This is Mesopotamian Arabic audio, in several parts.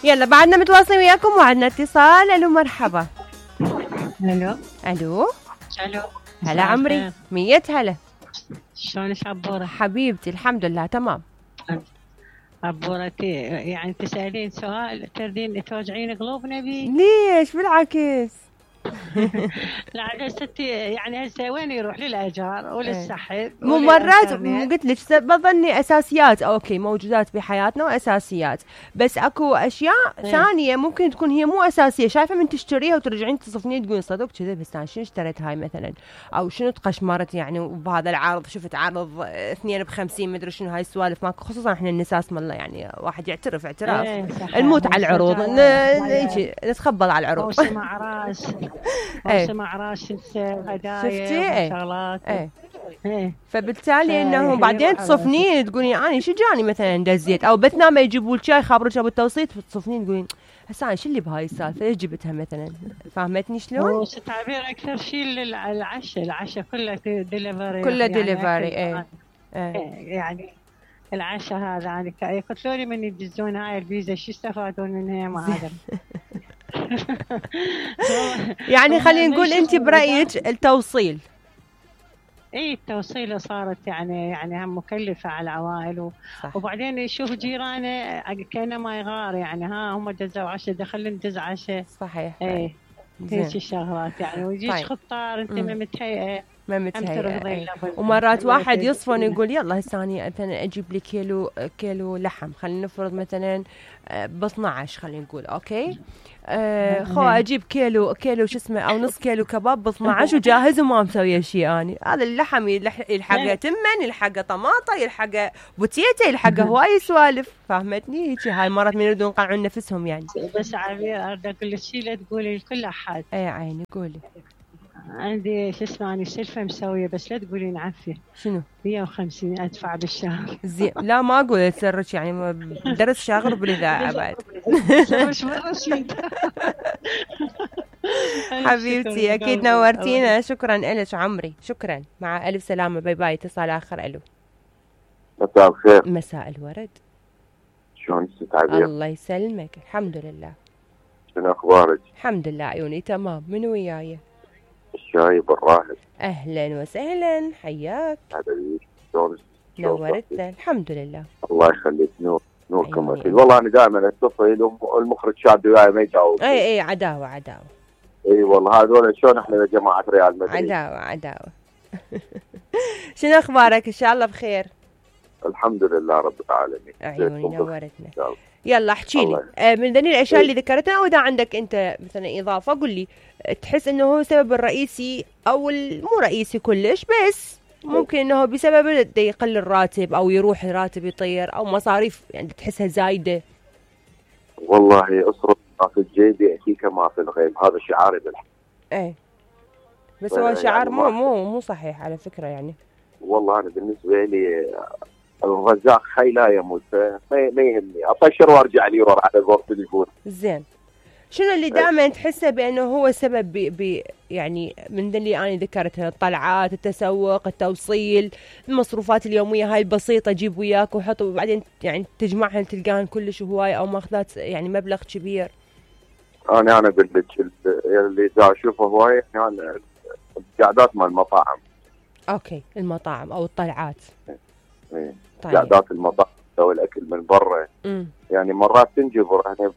يلا بعدنا متواصلين وياكم وعدنا اتصال. الو مرحبا. الو الو الو هلا عمري. 100 هلا. شلونك عبورة؟ حبيبتي الحمد لله تمام. عبورتي يعني تسألين سؤال تردين توجعين قلوبنا بيه؟ ليش بالعكس. لا ستي يعني هسه وين يروح للاجار وللسحب مو مرات قلت لك بظني اساسيات اوكي موجودات بحياتنا واساسيات، بس اكو اشياء ثانيه ممكن تكون هي مو اساسيه، شايفه من تشتريها وترجعين تصفنين تقولين صدق كذا بس انا شنو اشتريت هاي مثلا، او شنو تقشمرت يعني وبهذا العرض شفت عرض 2 ب50 مدري شنو هاي السوالف ماكو، خصوصا احنا النساء اسم الله يعني واحد يعترف اعتراف الموت على العروض نتخبل على العروض. موسم اعراس موسم اعراس هدايا وشغلات فبالتالي انه بعدين تصفنين تقولين انا شو جاني مثلا دزيت او بتنام يجيبوا لك شاي خابرك ابو التوصيل تصفنين تقولين هسه انا شو اللي بهاي السالفه ليش جبتها مثلا، فهمتني شلون؟ تعبير اكثر شيء العشاء كله ديليفري كله ديليفري يعني العشاء هذا يعني يقتلوني من يدزون هاي الفيزا شو يستفادون منها ما ادري. يعني خلينا نقول انت برايك التوصيل التوصيله صارت يعني هم مكلفه على العوائل وبعدين يشوف جيرانه كانه ما يغار يعني هم دزوا عشاء دخلنا ندز عشاء صحيح هيك الشغلات يعني ويجيك خطار انت ما متهيئه ومرات واحد يصفن يقول يلا هسه انا مثلا اجيب لي كيلو لحم خلينا نفرض مثلا ب 12 خلينا نقول اوكي خو اجيب كيلو شو اسمه او نص كيلو كباب ب 12 وجاهز وما مسويه شيء اني هذا اللحم يلحقه تمن يلحقه طماطه يلحقه بوتيته يلحقه هواي سوالف فهمتني هيك هاي مرات من يريدون يقنعون نفسهم يعني. بس عبير اريد اقول لك شيء لا تقولي لكل احد. اي عيني قولي. عندي شو اسمه اني سلفه مسويه بس لا تقولين عفيه. شنو؟ 150 ادفع بالشهر. زين لا ما اقول سرك يعني درس شاغر بالاذاعه بعد. مش رشيد. حبيبتي اكيد نورتينا شكرا لك عمري شكرا مع الف سلامه باي باي. اتصال اخر. الو مساء الخير. مساء الورد. شلونك ست عبير؟ الله يسلمك الحمد لله. شنو اخبارك؟ الحمد لله عيوني تمام. من وياي؟ الشاي بالراهب. اهلا وسهلا حياك. شلونك؟ نورتنا الحمد لله. الله يخليك نوركم اكيد. والله انا دائما اتصل والمخرج شاد وياي ما يجاوب. اي عداوه اي والله هذول شلون احنا جماعه ريال مدريد عداوه. شنو اخبارك؟ ان شاء الله بخير. الحمد لله رب العالمين. عيوني نورتنا. يلا احكي لي من ذني الاشياء اللي ذكرتها او اذا عندك انت مثلا اضافه قل لي تحس انه هو السبب الرئيسي او مو رئيسي كلش بس ممكن انه بسبب يقل الراتب او يروح الراتب يطير او مصاريف يعني تحسها زايده. والله اصرف ما في الجيب ياتيك ما في الغيب هذا شعاري بالحق. بس هو شعار مو صحيح على فكره يعني. والله انا بالنسبه لي الرزاق حي لا يموت ما يهمني اطشر وارجع لي ورا على غرفه التليفون. زين شنو اللي دائما تحسه بانه هو سبب يعني من اللي انا ذكرتها الطلعات التسوق التوصيل المصروفات اليوميه هاي البسيطه جيب وياك وحط وبعدين يعني تجمعها تلقاهن كلش هواي او ماخذات يعني مبلغ كبير. انا اقول لك اللي دا اشوفه هواي يعني القعدات مال المطاعم. اوكي المطاعم او الطلعات. طيب. قعدات المطاعم او الاكل من برا يعني مرات تنجبر يعني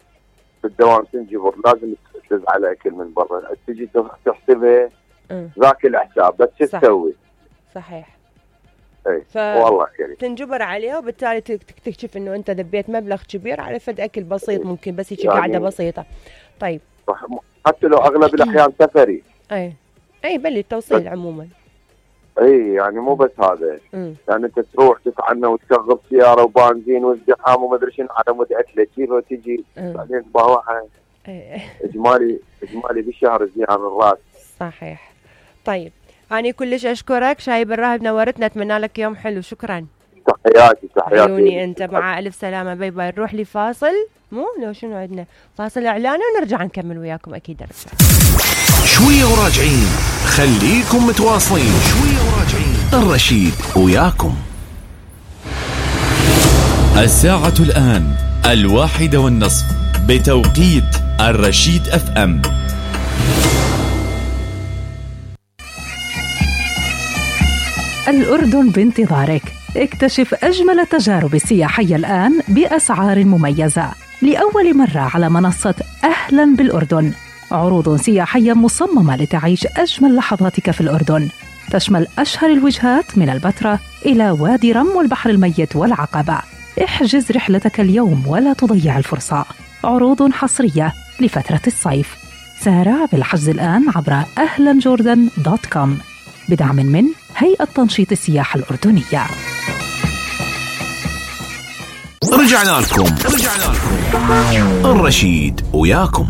في الدوام تنجبر لازم تفز على اكل من برا تجي تحسبها ذاك الحساب بس شو تسوي؟ صحيح. اي والله كريم تنجبر عليها وبالتالي تكتشف انه انت ذبيت مبلغ كبير على فد اكل بسيط ممكن بس هيك يعني قاعده بسيطه. طيب حتى لو اغلب الاحيان سفري. اي بلي التوصيل عموما. اي يعني مو بس هذا يعني انت تروح تتعنى وتشغل سياره وبنزين وازدحام وما ادري شنو على مود اكله تجيبها وتجي بعدين تباوعها. اجمالي بالشهر زين عن الراس. صحيح. طيب انا كلش اشكرك شاي بالراهب نورتنا اتمنى لك يوم حلو شكرا. تحياتي عيوني انت مع الف سلامه باي باي. نروح لفاصل لو شنو عندنا فاصل اعلاني ونرجع نكمل وياكم اكيد نرجع شويه وراجعين. خليكم متواصلين شويه وراجعين. الرشيد وياكم. الساعة الآن 1:30 بتوقيت الرشيد FM. الأردن بانتظارك. اكتشف أجمل التجارب السياحية الآن بأسعار مميزة لأول مرة على منصة أهلا بالأردن. عروض سياحية مصممة لتعيش أجمل لحظاتك في الأردن، تشمل أشهر الوجهات من البتراء إلى وادي رم والبحر الميت والعقبة. احجز رحلتك اليوم ولا تضيع الفرصة. عروض حصرية لفترة الصيف. سارع بالحجز الآن عبر ahlanjordan.com بدعم من هيئة تنشيط السياحة الأردنية. رجعنا لكم الرشيد وياكم.